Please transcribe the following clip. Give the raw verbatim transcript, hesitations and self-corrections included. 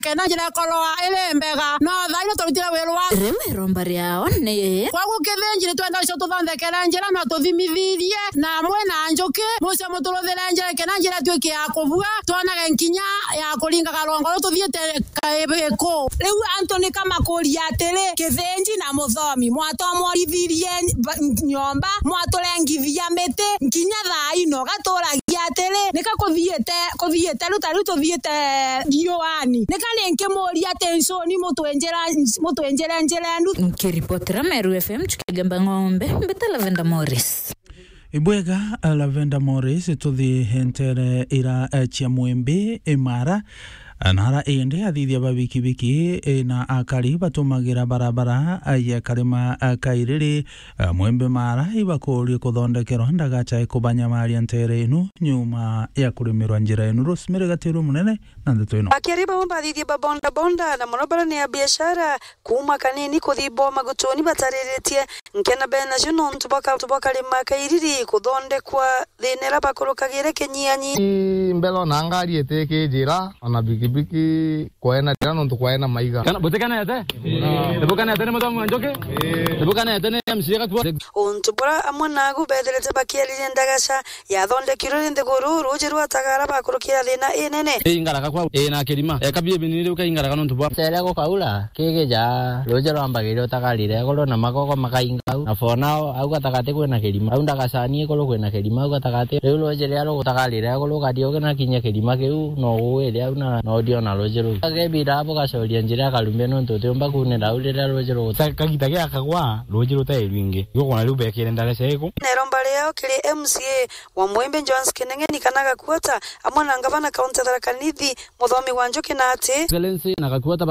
kenda njira ikorwa iri mbega, no thaino turutire wirwa. Riu iromba riao ni, kwagu Kithinji ni twenda ucio tuthondekere njira na tuthimithirie, na amwe na njuki, mucio muturuthire njira, kenda njira ituike ya kubua, twonage nkinya ya kuringaga rwongo ru tuthiite Kaibiku. Riu antu ni kamakuria atiri, Kithinji na Muthomi, mwatomworithirie ba-, nyomba, mwaturengithia miti, nkinya thaino gaturagia atiri, nika kuthiite, kuthiite riu ta riu tuthiite riuani. Nika ni nkimuria ati ncuni mutwenjera, mutwenjere njira enu. Nkiripotera Meru F M, Chukigemba Ng'ombe, mbita Lavenda Morris. Ibwega, Lavenda Morris, tuthi hentere ira, eh, cia Mwembe, Imara, nara indi athithia ba bikibiki, eh, na akari batumagira barabara, eh, ya Karima, eh, Kairiri, eh, Mwembe Mara, ibakurie kuthondekerwa ndagacha ikubanyamaria ntere inu nyuma ya kurimirwa njira inu. Rosemary Gatiru Munene na ndeto ino. Akiri bau bathithia ba bonda bonda na mono bara ni a biashara, kuuma kanini kuthi bo magutuni batariritie nkena benacio nontu bwa ka-, bwa Karima Kairiri kuthondekwa thina ira bakurukagire kinyianyi. Ii, mbere ona ngari itikijira, ona bikibiki kwaena njira nontu kwaena maiga. Kana butikenete? Nibukenete ni Muthomi wa Njuki? Nibukenete ni M C A Gatua? Untu bura amwe nagu bethirite bakiariria ndagaca yathondekirwe ni nthiguru, ruuji rwa Tagara bakurukira thina inene. Ii, ngaraga kwau, ii, na kirima. Eka bie binini riu kaingaraga nontu bwa. Cere gukaura, kigija, ruuji rwambagiria utagarire iguru na magogo makainga au. Na for now, au gatagati kwina kirima. Au ndagacani iguru kwina kirima, au gatagati. Riu ruuji riria rugutagarire iguru, ukathi uginakinya kirima kiu, no ugwire au na, na uthiona ruuji ruu. Kebira bugacoria njira ya Karumbe nontu utiumba kuunira au riria ruuji rugu- Ka-, kagita giakagwa, ruuji rutai rwingi. Igukona riu bekire ndagaca iku. Neromba riao kiri M C A wa Mwembe Johannes Kineng'eni kana Gakuota, amwe na ngavana kaunti ya Tharaka Nithi, Muthomi wa Njuki na ati. Excellency na Gakuota baka-